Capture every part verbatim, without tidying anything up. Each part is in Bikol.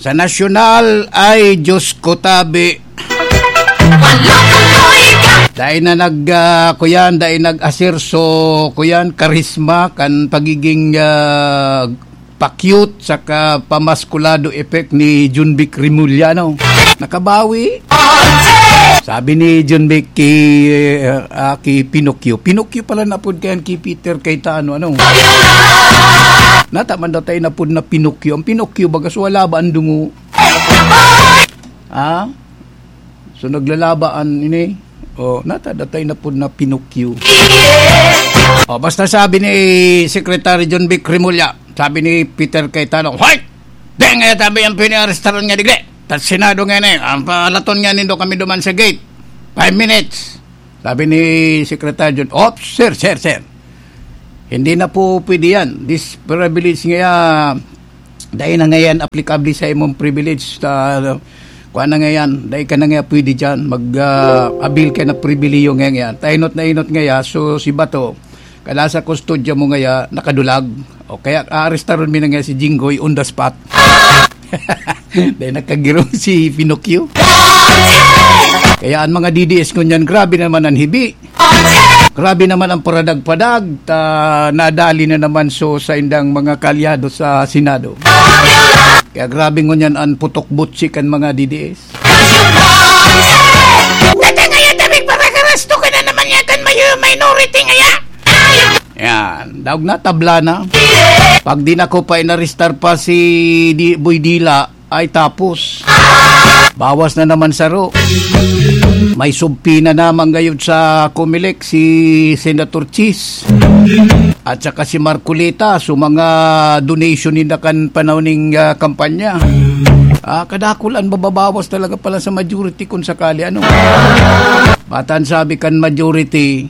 Sa nasyonal ay, Diyos ko, tabi. Dai na nag, ah, kuyan, dai nag-aserso, kuyan, karisma, kan pagiging, ah, pa-cute, saka pamaskulado effect ni Junvic Remulla, no? Nakabawi. Sabi ni Junvic ki, ah, ki Pinocchio. Pinocchio pala napod kayan ki Peter Cayetano, ano? Nata man daw tayo napod na Pinocchio. Ang Pinocchio, bagas wala ba ang dungo? Ha? So, naglalaba an ini. O, nata datay na pud na Pinocchio. O, basta sabi ni Secretary Junvic Remulla, sabi ni Peter Cayetano, "Hoy! Di nga tabi ang piniarestaran nga digdi. Ta Senado nga ni, ang palaton nga nindo kami duman sa gate. Five minutes." Sabi ni Secretary Jun, "Op, sir, sir, sir. Hindi na po pwede yan. This privilege nga, dai na ngayon applicable sa imong privilege. Ta, kuha na ngayon, dai ka na nga pwede dyan. Mag, ah, avail ka na pribiliyo nga ngayon. Ta inot na inot nga ya, so si Bato, kada sa kustodya mo nga ya, nakadulag. O kaya, aarestaron mi na nga si Jinggoy on the spot." Dahil nakagirong si Pinocchio. Kaya ang mga D D S ngunyan, grabe naman ang hibi. Grabe naman ang paradag-padag. Ta, nadali na naman so sa indang mga kaalyado sa Senado. Kaya grabe ngunyan ang putok-butsi kan mga D D S. Tata ngaya, David, para karasto ka na naman ya kan mayo-, minority ngaya. Yan. Daog na, tabla na. Pag di na ko pa inaristar pa si Di-, Boy Dila, ay tapos. Bawas na naman saro. May subpoena naman gayud sa Comelec si Senator Chis at saka si Marcoleta, so mga donation nila kan panahon ning, ah, kampanya. Ah, kadakul an mababawas talaga pala sa majority kung sakali, ano. Matan sabi kan majority,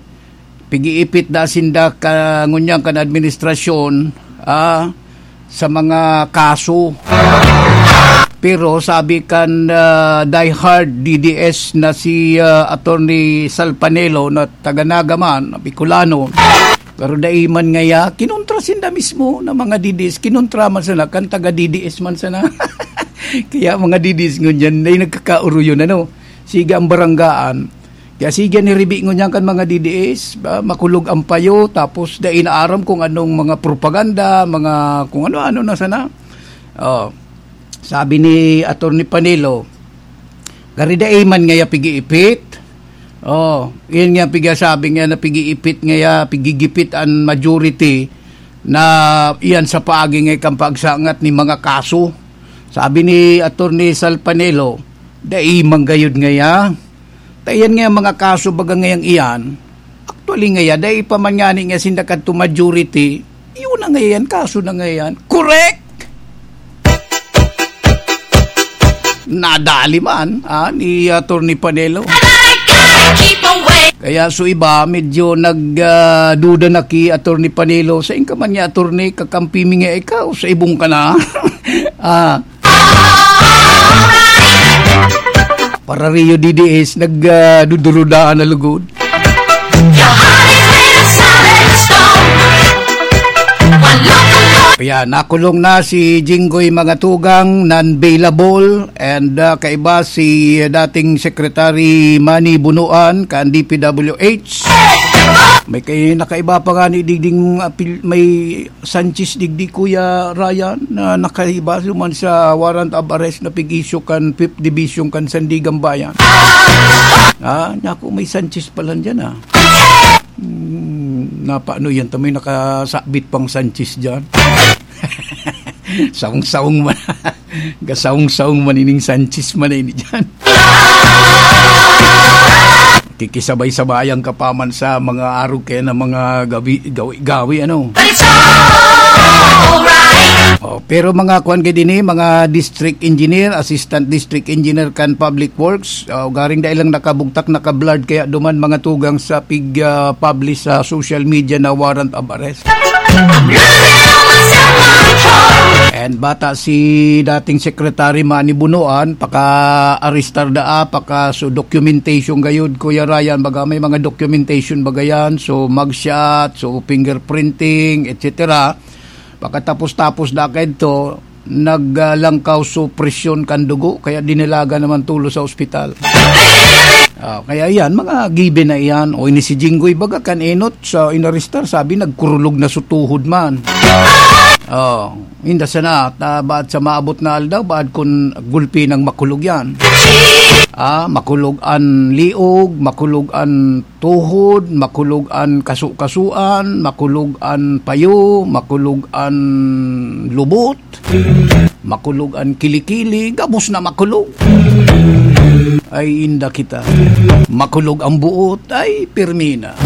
pigiipit da sinda ka, ngunyan kan administrasyon, ah, sa mga kaso. Pero sabi kan, ah, diehard D D S na si, ah, Attorney Salpanelo na taga Naga man, Bicolano, pero dai man ngaya, kinontra sinda mismo na mga D D S, kinontra man sana, kan taga D D S man sana. Kaya mga D D S ngunyan, na nagkakauruyon, ano, sige ang baranggaan. Kaya sige, niribi ngunyan kan mga D D S, ba, makulog ang payo, tapos dai na aram kung anong mga propaganda, mga kung ano-ano na sana. Oh, sabi ni Attorney Panelo, "Gari dai man ngaya pigiipit." Oh, iyan nga pigasabi nga na pigiipit ngaya, pigigipit an majority na iyan sa paagi nga kan pagsangat ni mga kaso. Sabi ni Attorney Salpanelo, "Dai man gayud ngaya. Ta iyan nga mga kaso baga ngayang iyan, actually ngaya, dai pa man ngani nga sinda kadto majority, iyo na ngayan, kaso na ngayan." Correct! Nadali man, ah, ni Attorney Panelo. Kaya so iba, medyo nag, ah, duda na ki Attorney Panelo. "Sain ka man niya, Attorney? Kakampi mi nga ikaw, sa ibong ka na." Ah. Para Rio D D S, nag, ah, dudurudaan na lugod. Ayan, nakulong na si Jinggoy Mangatugang, non-bailable, and, ah, kaiba si dating Secretary Manny Bonoan, kan D P W H. May kay-, nakaiba pa nga ni digding apil-, may Sanchez digdi, Kuya Ryan, na nakaiba duman sa warrant of arrest na pig-issue kan Fifth Division kan Sandiganbayan. Ah, naku, may Sanchez pala dyan, ah. Hmm, napaano yan? Tamoy nakasabit pang Sanchez dyan. Saong-saong man. Gasaong-saong man ining Sanchez man na ini dyan. Kikisabay-sabayan ka pa man sa mga arog kaya na mga gawi, gawi, gawi, ano. But it's alright. Oh, pero mga kuwan gid ini, mga district engineer, assistant district engineer kan public works, oh, garing dai lang nakabugtak, nakablurred, kaya duman mga tugang sa pig, ah, publish sa social media na warrant of arrest. I'm running on myself, my joy. And bata si dating Secretary Manny Bonoan, paka-arestar daa, paka-, so documentation gayud, Kuya Ryan, baga may mga documentation baga yan, so mugshot, so fingerprinting, et cetera. Pagkatapos-tapos na kaidto, naglangkaw so presyon kan dugo, kaya dinalagan naman tulo sa ospital. Ah, kaya yan, mga given na iyan. O ini si Jinggoy baga kan enot sa inarestar, sabi nagkurulog na so tuhod man. Oh, inda sana, ta, baad sa maabot na aldaw, baad kun gulpi nang makulog yan. Ah, makulog an liog, makulog an tuhod, makulog an kasu-kasuan, makulog an payo, makulog an lubot, makulog an kilikili, gabos na makulog. Ay, inda kita. Makulog ang buot, ay, pirmi na.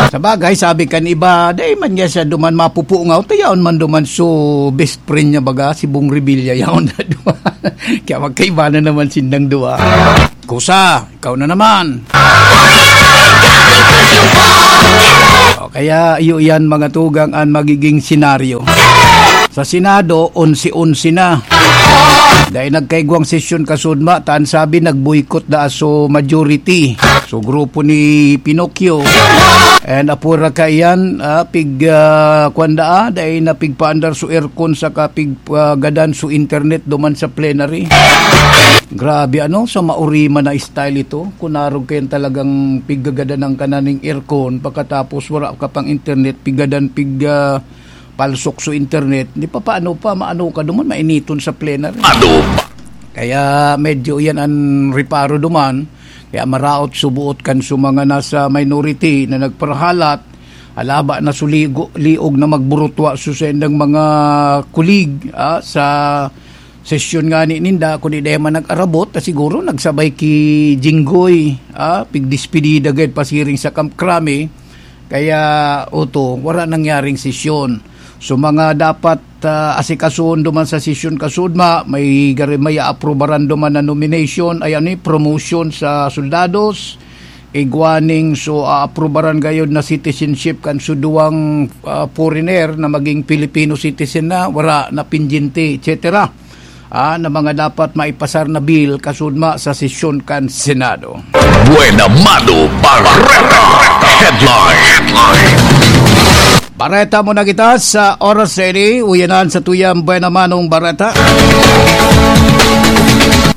Sa bagay, sabi kan iba, "Dai man niya siya duman mapupungaw, ta yaon man duman so best friend niya baga, si Bong Revilla, yaon na duman." Kaya magkaiba na naman sindang duwa. Kusa, ikaw na naman. O kaya, iyo yan, mga tugang, ang magiging senaryo. Sa Senado, onse-onse na. Dahil nagkaigwang sesyon kasudma, taan sabi, nag-boycott da so majority. So, grupo ni Pinocchio. And apura ka iyan, ah, pig, ah, kwan da, ah, dahil na pigpaandar so aircon sa kapig, ah, gadan so internet duman sa plenary. Grabe, ano, sa mauriman na style ito. Kung narog kayan talagang piggagadan ang kananing aircon, pagkatapos wala ka pang internet, pigadan, pig, ah, palsok so internet, di pa paano pa, maano ka duman, mainiton sa plenary. Ano pa? Kaya medyo yan ang reparo duman. Kaya maraot subuot kan so mga nasa minority na nagparhalat, alaba na suligo, liog na magburutwa so sendang mga kulig, ah, sa sesyon nga ni ninda, kundi dahil man nag-arabot, ta siguro nagsabay ki Jinggoy, ah, pigdespedida gayud pasiring sa Camp Crame. Kaya, oto, wala nangyaring sesyon. So, mga dapat, ah, asikasoon duman sa sesyon kasudma, may gari-, may aaprubaran duman na nomination, ay ano, promotion sa soldados, igwaning so aaprubaran gayod na citizenship kan so duwang, ah, foreigner na maging Filipino citizen na, wala na pinjinti, et cetera. Ah, na mga dapat maipasar na bill kasudma sa sesyon kan Senado. Buena Mano Bareta Headline. Bareta muna kita sa oras na ini. Uyanan sa tuyang Buena Manong Bareta.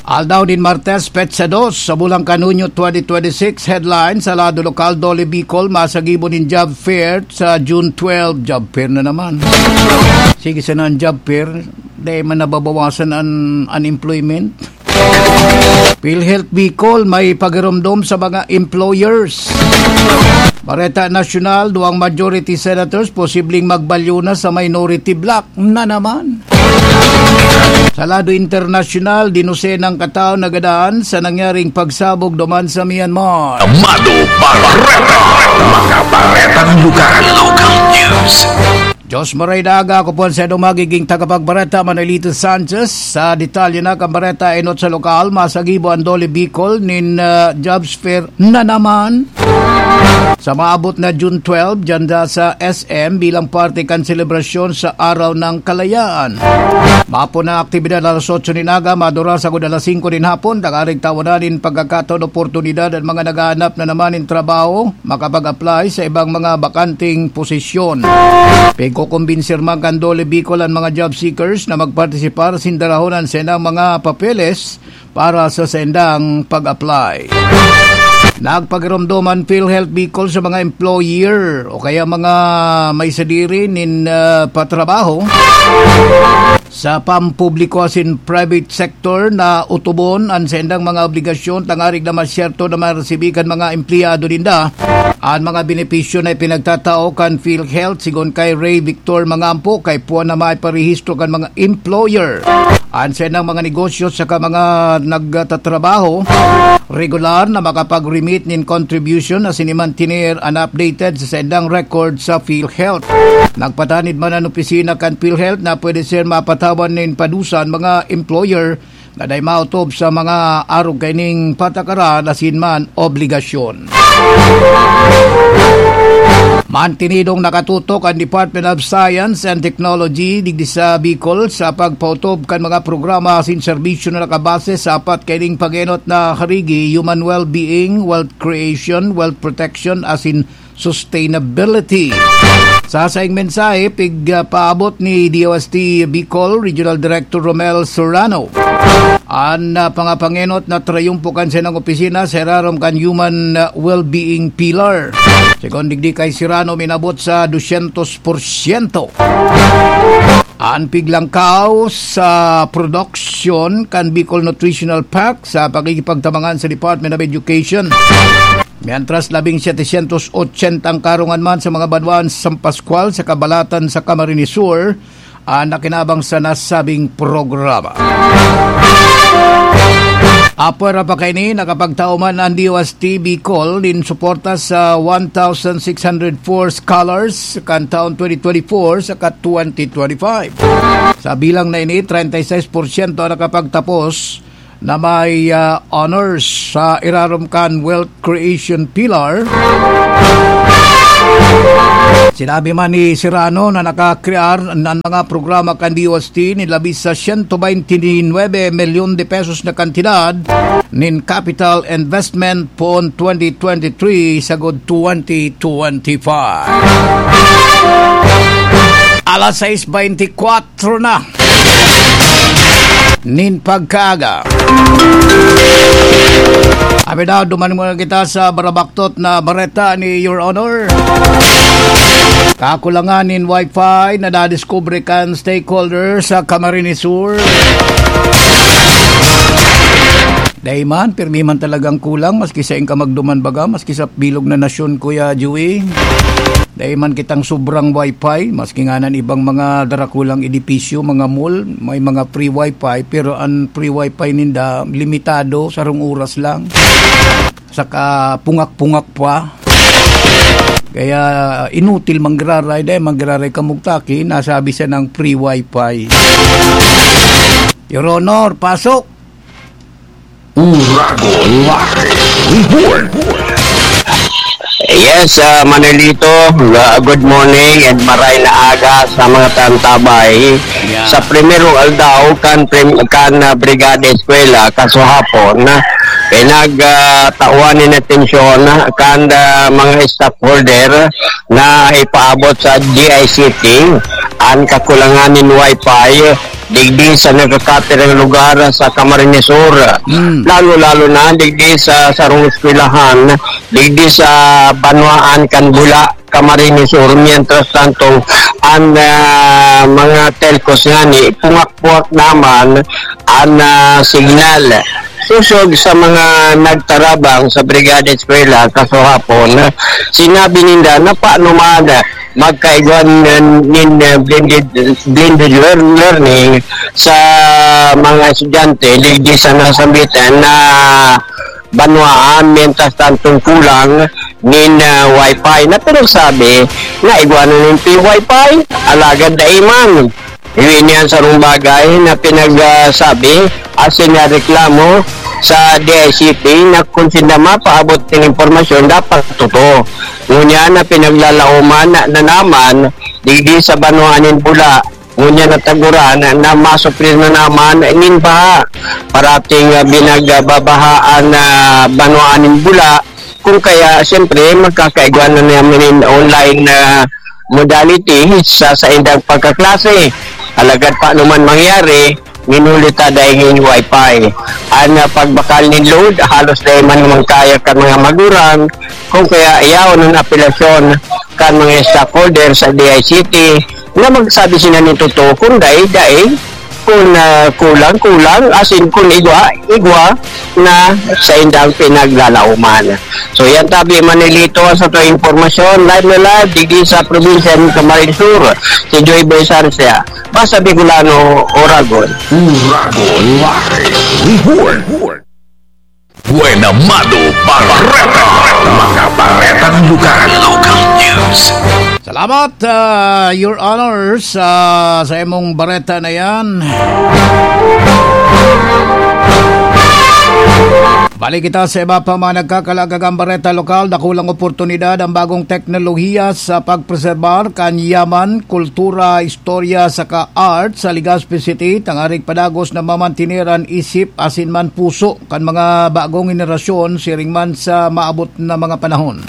Aldaw nin Martes, petsa dos sa bulan kan Hunyo twenty twenty-six. Headline, sa lado lokal, Dole Bicol, masagibo nin job fair sa June twelve. Job fair na naman. Sige sana ang job fair. Dai man nababawasan an unemployment. PhilHealth Bicol may pagiromdom sa mga employers. Bareta Nasyonal, duwang majority senators posibleng magbalyo na sa minority bloc na naman. Sa lado internasyonal, dinusenang katao nagadan sa nangyaring pagsabog duman sa Myanmar. Amado Bareta, mga baretang lugar. Local news. Diyos maray na aga, ako po ang sadong magiging tagapagbareta, Manolito Sanchez. Sa detalye na kan bareta, enot sa lokal, masagibo ang Dole Bicol nin, ah, jobs fair na naman. Sa maabot na June twelve, dyan da sa S M bilang parte kan selebrasyon sa Araw ng Kalayaan. Mapo na aktibidad alas otso nin aga, madura sagod alas singko nin hapon, dangarig tawanan nin pagkakataon oportunidad ang mga naghahanap na naman nin trabaho makapag-apply sa ibang mga bakanteng posisyon. Pigkokombinsir man kan Dole Bicol an mga job seekers na magpartisipar asin darahon an saindang mga papeles para sa saindang pag-apply. Nagpagiromdom an PhilHealth Bicol sa mga employer o kaya mga may sadiri nin, ah, patrabaho sa pampubliko asin private sector na utubon an saindang mga obligasyon tangarig na masyerto na maresibi kan mga empleyado ninda an mga benepisyo na ipinagtatao kan PhilHealth, sigon kay Ray Victor Mangampo, kay puwan na maiparehistro kan mga employer an saindang mga negosyo saka mga nagtatrabaho regular na makapag-remit nin contribution asin i-maintain an updated sa saindang record sa PhilHealth. Nagpatanid man an opisina kan PhilHealth na pwede ser mapatawan nin padusa an mga employer na dai maotob sa mga arog kaining patakaran asin man obligasyon. Mantinidong nakatutok ang Department of Science and Technology digdi sa Bicol sa pagpaotob kan mga programa asin serbisyo na nakabase sa apat kaining pag-enot na karigi: human well-being, wealth creation, wealth protection, asin sustainability. Sa saing mensahe, pig, ah, paabot ni D O S T Bicol Regional Director Romel Serrano an, ah, pangapangenot na trayumpo kan sinang opisina sa irarom kan Human, ah, Well-being Pillar. Segun digdi kay Serrano, minabot sa dosyentos porsyento an piglangkaw sa production kan Bicol Nutritional Pact sa pakikipagtabangan sa Department of Education. Mientras, labing setecientos ochenta ang karungan man sa mga banwaan sa San Pascual sa kabalatan sa Camarines Sur, ah, nakinabang sa nasabing programa. Apwera pa kaini, nakapagtao man ang D O S T Bicol nin suporta sa one thousand six hundred four scholars kan taon twenty twenty-four saka twenty twenty-five. Sa bilang na ini, treinta y seis porsyento ang nakapagtapos na may, ah, honors sa irarom kan Wealth Creation Pillar. Sinabi man ni Serrano na nakakrear ng mga programa kan D O S T ni labis sa siyento baynte nuebe milyon de pesos na kantidad nin capital investment poon twenty twenty-three sagod twenty twenty-five. Alas sais baynte kwatro na nin pagkaaga. Abi daw, duman muna kita sa barabaktot na bareta ni Your Honor. Kakulangan nin wifi na nadiskubre kan stakeholder sa Camarines Sur. Dai man, pirmi man talagang kulang, maski sain ka magduman baga, maski sa bilog na nasyon, Kuya Joey. Dai man kitang sobrang wifi, maski nganan ibang mga darakulang edipisyo, mga mall, may mga free wifi, pero an free wifi ninda, limitado, sarong oras lang. Saka pungak-pungak pa. Kaya inutil manggiraray, dai manggiraray kamugtaki, nasabi siya ng free wifi. Your Honor, pasok! Uragon Live Report. Yes, ah, Manolito, ah, good morning and maray na aga sa mga tantabay. Yeah. Sa primerong aldaw kan prim-, kan, ah, Brigada Eskwela, kasuhapon, ah, pinag, ah, tawan nin atensyon, ah, kan, ah, mga stakeholder na ipaabot sa G I C T an kakulangan nin wifi digdi sa nagkakapirang lugar sa Camarines Sur. Mm. Lalo-lalo na digdi sa sarong eskwelahan, digdi sa banwaan kan Bula, Camarines Sur. Mientras tanto, an, ah, mga telcos ngani, pungak-pungak naman an, ah, signal. Sosog sa mga nagtarabang sa Brigada Eskwela kasuhapon, sinabi ninda na paano man magkaigwa nin, nin, uh, blended, blended lear-, learning sa mga estudyante digdi sa nasambitan na banwaan, mientras tantong kulang nin, uh, wifi na pinagsabi na igwa na nin free wifi, alagad dai man. Iwi niyan sarong bagay na pinagsabi asin na reklamo sa D I C T na kung sinda mapaabot nin impormasyon, dapat totoo. Ngunyan na pinaglalaoman na, na naman digdi sa banwaan nin Bula. Ngunyan na taguran na masuplir na naman nin baha. Parating, ah, binagbabahaan na banwaan nin Bula. Kung kaya, siyempre, magkakaigwa na naman nin online na modality sa saindang pagkaklase. Alagad paano man mangyari, minuli ta dai nin wifi. An, ah, pagbakal nin load, halos dai man naman kaya kan mga magurang. Kung kaya, yaon an apelasyon kan mga stockholder sa D I C T na magsabi sila nin totoo, kung dai, dai, kung, ah, kulang, kulang, asin kung igwa, igwa na saindang pinaglalaoman. So, yan tabi, Manilito, sa to impormasyon, live na live, digdi sa probinsya ng Camarines Sur, si Joy Boy Sarcia. Basta Bicolano, Oragon. Uragon Live Report. Buena Mano Bareta. Mga baretang lugar. Local news. Salamat, ah, Your Honor, sa, sa imong bareta na yan. Balik kita sa iba pa mga nagkakalagagang bareta lokal. Dakulang oportunidad ang bagong teknolohiya sa pagpreserbar kan yaman, kultura, istorya, saka art sa Legazpi City, tangarig padagos na mamantener an isip asin man puso kan mga bagong henerasyon siring man sa maabot na mga panahon.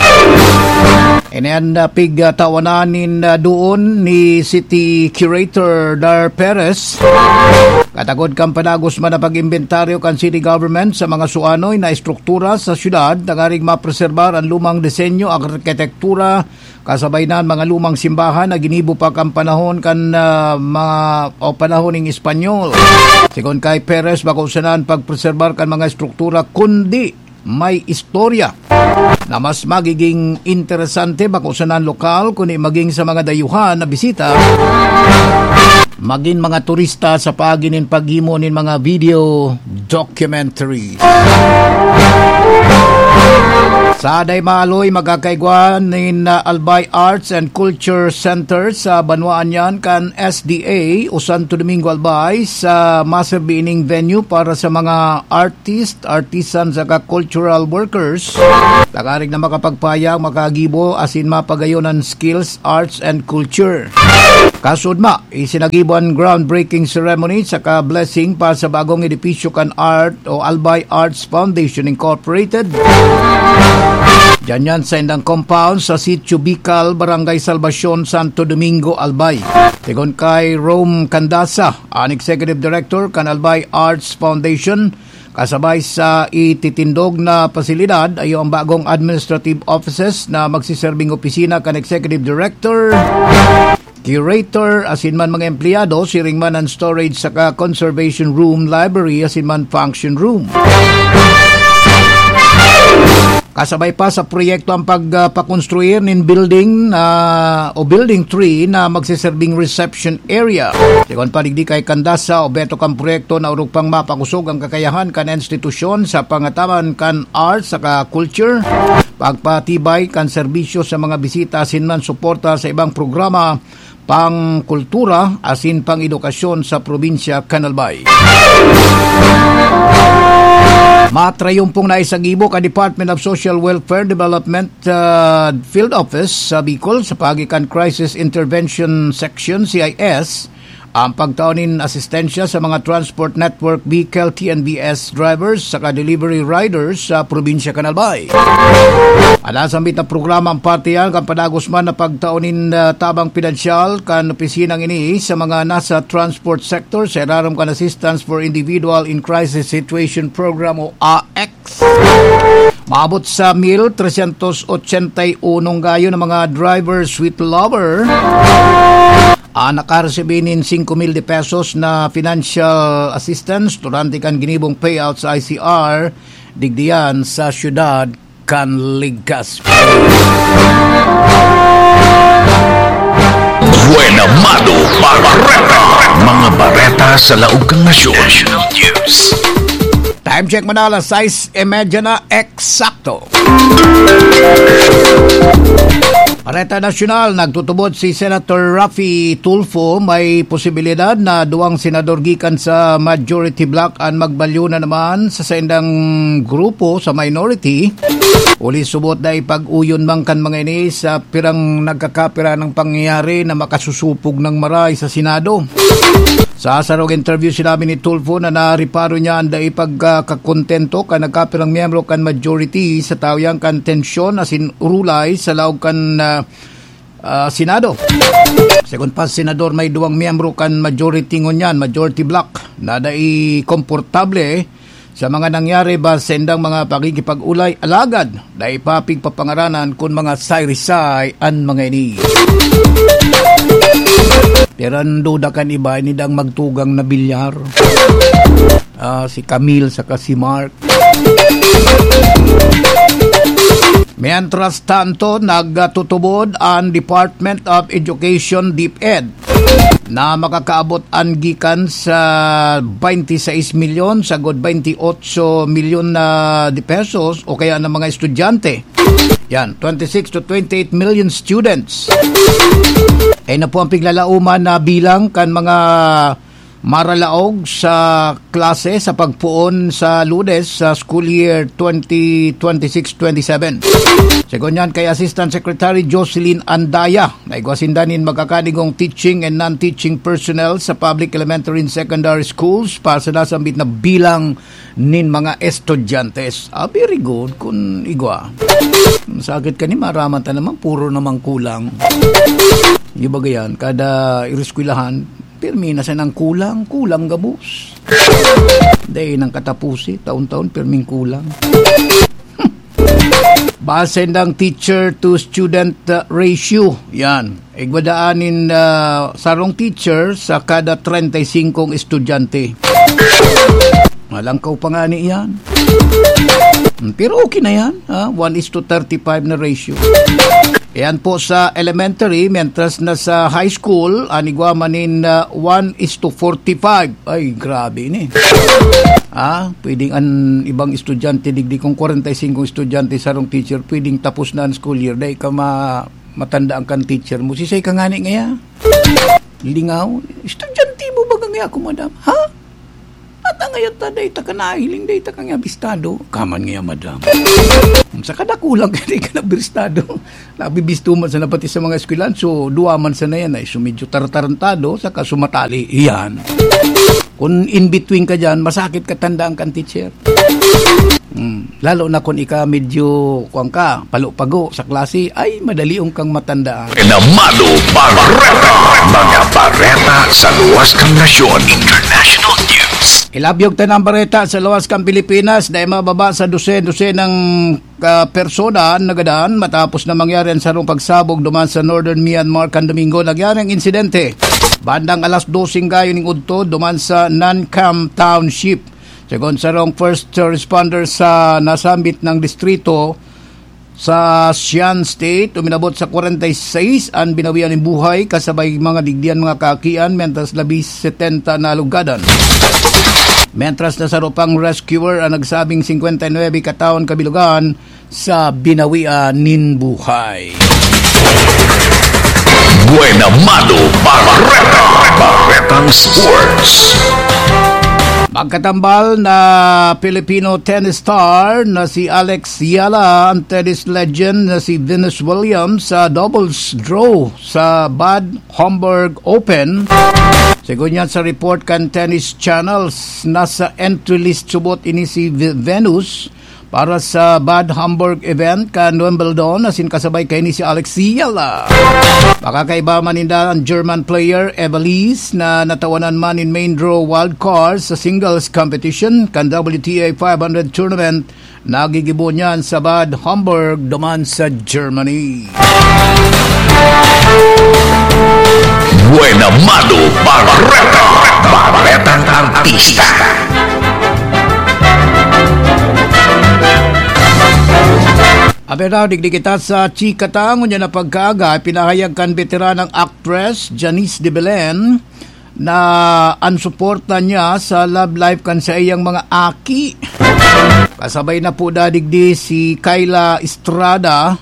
Ini an, ah, pigtawanan nin, ah, duon ni City Curator Dar Perez. Katagod kan padagos man na pag-imbentaryo kan city government sa mga suanoy na estruktura sa syudad, tanganing mapreserbar an lumang disenyo, arkitektura, kasabay na an mga lumang simbahan na ginibo pa kan panahon kan, ah, mga, o panahon ning Espanyol. Sigon kay Perez, bako sana an pagpreserbar kan mga estruktura, kundi may istorya na mas magiging interesante, bako sana an lokal, kundi magin sa mga dayuhan na bisita, magin mga turista sa paagi nin paghimo nin mga video documentary. Sa Daymaaloy, magkakaigwa nin, uh, Albay Arts and Culture Center sa banwaan yan kan S D A o Santo Domingo Albay sa maserbi ining venue para sa mga artist, artisan saka cultural workers. Tanganing na makapagpahayag, makagibo asin mapagayon an skills, arts and culture. Kasudma, isinagibo an groundbreaking ceremony saka blessing pa sa bagong edipisyo kan Art o Albay Arts Foundation Incorporated. Diyan yan sa indang compound sa Sitio Bicol, Barangay Salvacion, Santo Domingo, Albay. Sigon kay Rome Candasa, an Executive Director kan Albay Arts Foundation, kasabay sa ititindog na pasilidad, ayo ang bagong administrative offices na magsiserbing opisina kan Executive Director, Curator, asin man mga empleyado, siring man an storage saka conservation room, library, asin man function room. Kasabay pa sa proyekto ang pagpakonstruir nin building na, o building three na magsiserbing reception area. Sigon pa digdi kay Candasa, obheto kan proyekto na orog pang mapakosog ang kakayahan kan institusyon sa pangataman kan arts saka culture, pagpatibay kan serbisyo sa mga bisita asin man suporta sa ibang programa pang-kultura asin pang-edukasyon sa probinsya kan Albay. Matrayumpong naisagibo kan Department of Social Welfare Development, ah, Field Office sa Bicol sa paagi kan Crisis Intervention Section, C I S, ang pagtao nin asistensya sa mga Transport Network Vehicle, T N V S, drivers saka delivery riders sa probinsya kan Albay. An nasambit na programa an parte yan kan padagos man na pagtao nin, ah, tabang pinansyal kan opisinang ini sa mga nasa transport sector sa irarom kan Assistance for Individual in Crisis Situation Program o A X. Maabot sa mil tresyentos otsenta y uno gayon na mga drivers with lover ang nakaresibi nin singko mil de pesos na financial assistance durante kan ginibong payout sa I C R, digdi yan sa siyudad kan Legazpi. Buena Mano Bareta. Mga bareta sa laog kan nasyon. National News. Time check muna, alas sais y media na eksakto. Bareta Nasyonal, nagtutubod si Senator Raffy Tulfo, may posibilidad na duwang senador gikan sa majority bloc an magbalyo na naman sa saindang grupo sa minority. Huli subot na ipag-uyon man kan mga ini sa pirang nagkakapira ng pangyayari na makasusupog ng maray sa Senado. Sa sarong interview, sinabi ni Tulfo na nareparo niya ang dai pagkakakontento kan nagkapirang miyembro kan majority sa tawo yan kan tensyon asin urulay sa laog kan, ah, ah, Senado. Segun pa, Senador, may duwang miyembro kan majority ngunyan, majority bloc, na dai komportable sa mga nangyari ba sa indang mga pakikipag-ulay, alagad dai pa pigpapangaranan kun mga saysay an mga ini. Pero ang duda kan iba, ini dang magtugang na bilyar. Ah, si Camille saka si Mark. Mientras tanto, nagtutubod ang Department of Education, DepEd, na makakaabot an gikan sa twenty-six milyon sagod twenty-eight milyon na de pesos o kaya ng mga estudyante. Yan, twenty-six to twenty-eight million students. Ay na po ang piglalauman na bilang kan mga maralaog sa klase sa pagpoon sa Lunes sa school year twenty twenty-six twenty-seven. Segun yan kay Assistant Secretary Jocelyn Andaya, na igwa sinda nin magkakanigong teaching and non-teaching personnel sa public elementary and secondary schools para sa nasambit na bilang nin mga estudyante. Ah, very good kun igwa. Sakit ka ni maraman ta naman, puro naman kulang. Di ba gayan? Kada ireskwelahan, pirmi na sanang kulang, kulang gabos. Dai nang katapusi, taon-taon, pirming kulang. Base nang teacher to student, uh, ratio, yan. Igwa daan nin, ah, sarong teacher sa kada treinta y cinco estudyante. Malangkaw pa nga ni iyan. Hmm, pero okay na yan, ha? One is to thirty-five na ratio. Yan po sa elementary, mientras na sa high school, an igwa man nin, ah, one is to forty-five. Ay, grabe ni. Ah, pwedeng an ibang estudyante, digdi kung kwarenta y singko estudyante, sarong teacher, pwedeng tapos na an school year. Dai ka ma-, matandaan kan teacher mo. Sisay ka ngani ngaya? Lingaw. Estudyante mo ba ngaya ako, madam? Ha? At ang ngayon ta, dai ta ka nahiling, dai ta ka nga bistado. Kaman ngaya, madam. Sa kadakulang ka, dai ka na bistado. Nabibisto man sana pati sa mga eskwelahan, so duwa man sana yan ay so medyo tartarantado, saka sumatali. Iyan. Kung in between ka dyan, masakit ka tandaan kan teacher. Hmm. Lalo na kung ika medyo, kuwan ka, palo-pago sa klase, ay, madalion kang matandaan. Namano Bareta, mga bareta sa luwas kan nasyon. International news. Ilabyog ta ng bareta sa luwas kan Pilipinas, dahil mababa sa dosen-dosen ng ka persona an nagadan matapos na mangyari an sarong pagsabog duman sa Northern Myanmar kan Domingo. Nangyari ang insidente bandang alas dose gayon ning udto duman sa Nankam Township. Segun sarong first responder sa nasambit ng distrito sa Shan State, uminabot sa kwarenta y seis an binawian nin buhay kasabay mga digdian, mga kaakian, mentras labi setenta na alugadan. Mentras na saro pang rescuer ang nagsabing singkwenta y nuebe kataon kabilugan sa binawian nin buhay. Buena Mano Bareta, Baretang Sports. Magkatambal na Filipino tennis star na si Alex Yala, ang tennis legend na si Venus Williams sa doubles draw sa Bad Homburg Open. Segun yan sa report kan Tennis Channels, nasa entry list subot ini si Ve-, Venus para sa Bad Homburg event kan Wimbledon, asin kasabay kaini si Alex Yala. Makakaiba man ninda ang German player Evalise na natawanan man nin main draw wildcard sa singles competition kan W T A five hundred tournament. Nagigibo niyan sa Bad Homburg duman sa Germany. Buena Mano Bareta, Baretang Artista. Abi daw, digdi kita sa chika ta, ngunyan na pagkaaga, pinahayag kan beteranang actress Janice de Belen na an suporta niya sa love life kan saiyang mga aki. Kasabay na po dadigdi si Kyla Estrada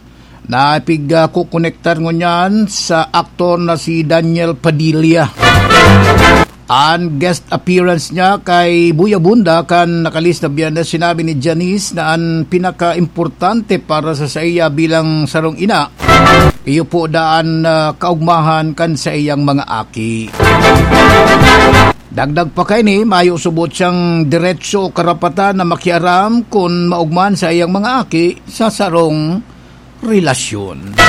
na pigkukonektar ngunyan sa aktor na si Daniel Padilla. An guest appearance niya kay Buya Bunda kan nakalihis na Biyernes, sinabi ni Janice na an pinakaimportante para sa saiya bilang sarong ina, iyo po daan na kaugmahan kan saiyang mga aki. Dagdag pa kaini, mayo subot siyang diretso o karapatan na makiaram kun maugmahan saiyang mga aki sa sarong relasyon.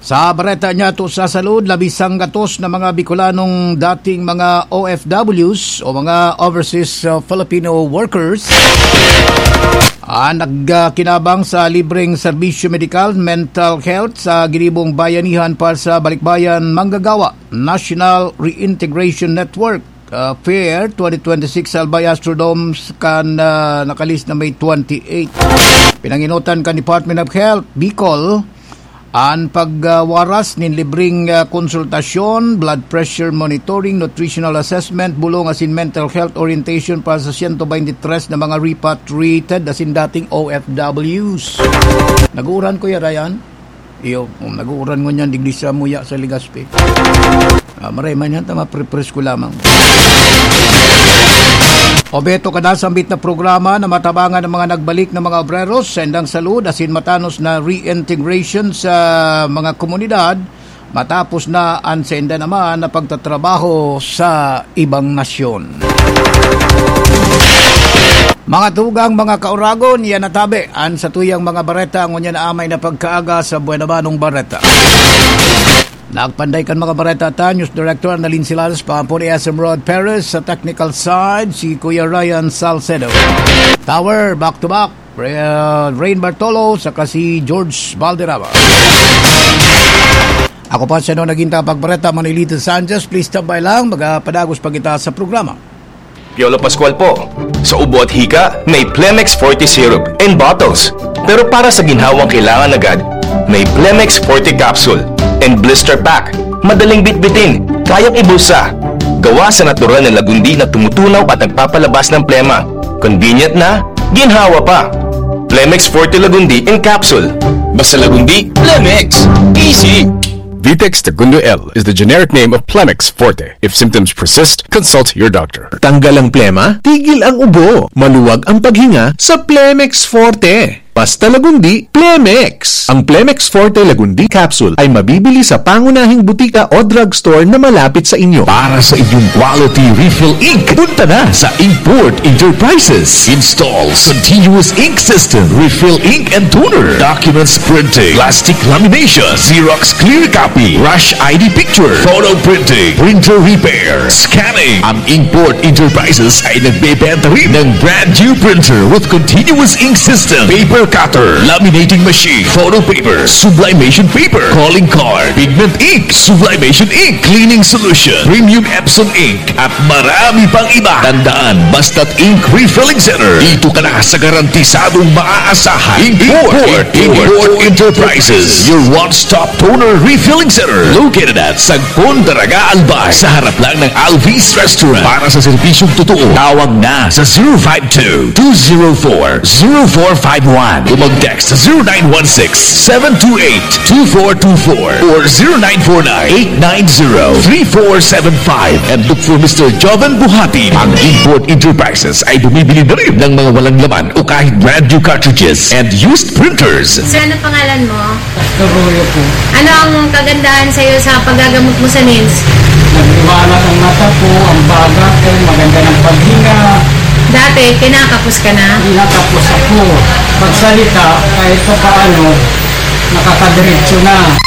Sa bareta niya to sa salud, labing sanggatos na mga Bicolanong dating mga O F Ws o mga Overseas, uh, Filipino Workers, ah, nagkinabang sa libreng serbisyo medikal, mental health sa ginibong bayanihan para sa Balikbayan Manggagawa National Reintegration Network, uh, Fair twenty twenty-six sa Albay Astrodome kan, uh, nakalihis na May twenty-eight. Pinanginutan kan Department of Health, Bicol, an pagwaras nin libreng, ah, konsultasyon, blood pressure monitoring, nutritional assessment, bulong asin mental health orientation para sa siyento baynte tres na mga repatriated asin dating O F Ws. Nag-uuran, Kuya Ryan? Iyo, kung nag-uuran ngunyan, digdi sa muya sa Legazpi. Ah, maray man yan, tama, pre-, presko lamang. Obheto kada sambit na programa na matabangan ang mga nagbalik na mga obreros, sendang salud, asin matanos na reintegration sa mga komunidad, matapos na ang senda naman na pagtatrabaho sa ibang nasyon. Mga tugang, mga kauragon, yan na tabi an satuyang mga bareta ngunyan na amay na pagkaaga sa Buenabanong Bareta. Nagpanday kan mga bareta ta, News Director Annalyn Silanes, paampon ni S M Rod Perez, sa technical side, si Kuya Ryan Salcedo. Tower, back to back, Re-, uh, Rain Bartolo, saka si George Valderrama. Ako pa siya no naging tapagbareta, Manilito Sanchez. Please tambay lang, magapadagos pa kita sa programa. Piolo Pascual po. Sa ubo at hika, may Plemex Forte Syrup in bottles. Pero para sa ginhawang kailangan agad, may Plemex Forte Capsule and Blister Pack. Madaling bitbitin, kayang ibulsa. Gawa sa natural na lagundi na tumutunaw at nagpapalabas ng plema. Convenient na, ginhawa pa. Plemex Forte Lagundi in Capsule. Basta Lagundi, Plemex. Easy! Vitex Tagundo L is the generic name of Plemex Forte. If symptoms persist, consult your doctor. Tanggal ang plema, tigil ang ubo, maluwag ang paghinga sa Plemex Forte. Basta Lagundi, Plemex! Ang Plemex Forte Lagundi Capsule ay mabibili sa pangunahing butika o drugstore na malapit sa inyo. Para sa inyong quality refill ink, punta na sa Inkport Enterprises. Installs continuous ink system, refill ink and toner, documents printing, plastic lamination, Xerox clear copy, rush I D picture, photo printing, printer repair, scanning. Ang Inkport Enterprises ay nagbebenta rin ng brand new printer with continuous ink system, paper cutter, laminating machine, photo paper, sublimation paper, calling card, pigment ink, sublimation ink, cleaning solution, premium Epson ink, at marami pang iba. Tandaan, basta't ink refilling center, dito ka na sa garantisadong maaasahan. Inkport, Inkport Enterprises, your one-stop toner refilling center, located at Sagpon, Daraga, Albay, sa harap lang ng Alvis Restaurant. Para sa serbisyong totoo, tawag na sa zero five two, two zero four, zero four five one o mag-text sa zero nine one six, seven two eight, two four two four or zero nine four nine, eight nine zero, three four seven five and look for Mister Joven Buhatin. Ang Inkport Enterprises ay bumibili na rin ng mga walang laman o kahit brand new cartridges and used printers. Sir, ano pangalan mo? Pastor Royo po. Ano ang kagandahan sa'yo sa paggagamot mo sa nails? Nagliwanag ang mata ko, ang baga ko, maganda ng paghinga. Dati, kinakapos ka na? Kinakapos ako. Pagsalita, kahit pa paano, nakakadiretso na.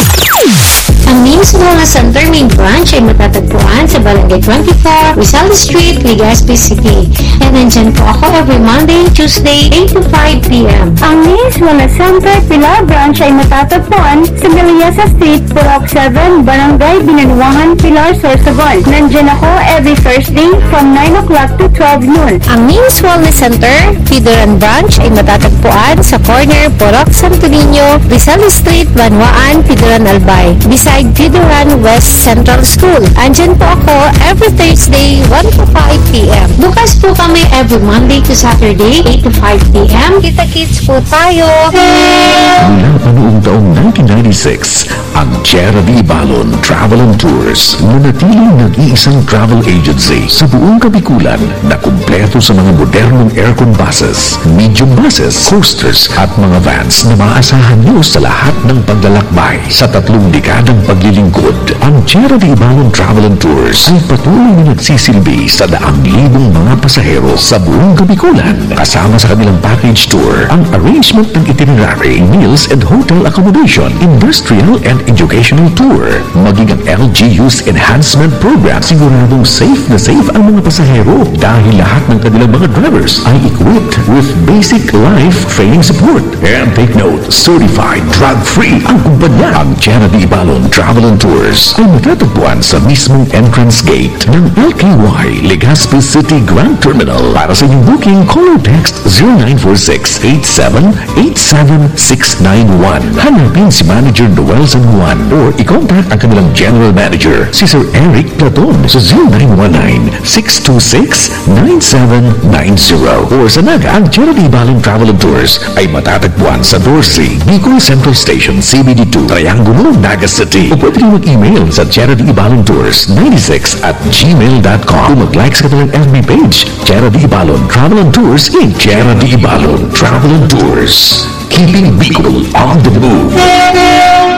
Ang Nails Wellness Center main branch ay matatagpuan sa Barangay twenty-four, Rizal Street, Legazpi City. And nandyan po ako every Monday, Tuesday, eight to five p.m. Ang Nails Wellness Center Pilar Branch ay matatagpuan sa Villasa Street, Purok seven, Barangay Binanuangan, Pilar, Sorsogon. Nandyan ako every Thursday from nine o'clock to twelve noon. Ang Nails Wellness Center, Pidoran Branch ay matatagpuan sa corner Purok Santo Niño, Rizal Street, Banwaan, Pidoran, Albay, beside Pidoran West Central School. Andyan po ako every Thursday, one to five p.m. Bukas po kami every Monday to Saturday, eight to five p.m. Kita-kits po tayo! Mula pa noong taong nineteen ninety-six, ang Tierra de Ibalon Travel and Tours, nanatiling nag-iisang travel agency sa buong Kabikulan na kumpleto sa mga modernong aircon buses, medium buses, coasters at mga vans na maaasahan nyo sa lahat ng paglalakbay. Sa tatlong dekadang paglilingkod, ang Tierra de Ibalon Travel and Tours ay patuloy na nagsisilbi sa daang libong mga pasahero sa buong Kabikulan, kasama sa kanilang package tour, ang arrangement ng itinerary, meals and hotel accommodation, industrial and educational tour, maging ang L G U's enhancement program, siguradong safe na safe ang mga pasahero dahil lahat ng kanilang mga drivers ay equipped with basic life training support. And take note, certified drug-free ang kumpanya. Ang Tierra de Ibalon Travel and Tours ay Matatagpuan sa mismong entrance gate ng L K Y Legazpi City Grand Terminal. Para sa inyong booking, call or text zero nine four six eight seven eight seven six nine one. Hanapin si Manager Noel San Juan or i-contact ang kanilang General Manager, si Sir Eric Platon, sa zero nine one nine six two six nine seven nine zero. Or sa Naga, ang Charity Balon Travel and Tours ay matatagpuan sa doce, Bicol Central Station, C B D two, Triangulo, Naga City. O pwede rin mag-email sa charity ibalon tours ninety six at gmail dot com. O mag-like sa kanilang F B page, Charity Ibalon Travel and Tours in Charity Ibalon Travel and Tours. Keeping Bicol on the move.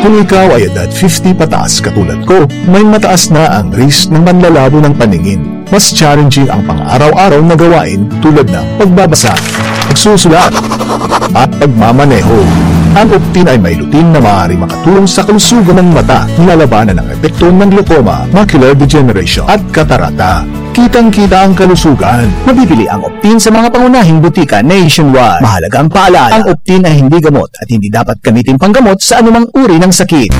Kung ikaw ay edad fifty pataas katulad ko, may mataas na ang risk ng manlalabo ng paningin. Mas challenging ang pang-araw-araw na gawain tulad ng pagbabasa, pagsusulat, at pagmamaneho. Ang Optin ay may lutein na maaaring makatulong sa kalusugan ng mata, nilalabanan ang epekto ng glaucoma, macular degeneration, at katarata. Kitang-kita ang kalusugan. Mabibili ang Optin sa mga pangunahing butika nationwide. Mahalagang paalala, ang Optin ay hindi gamot at hindi dapat gamitin panggamot sa anumang uri ng sakit.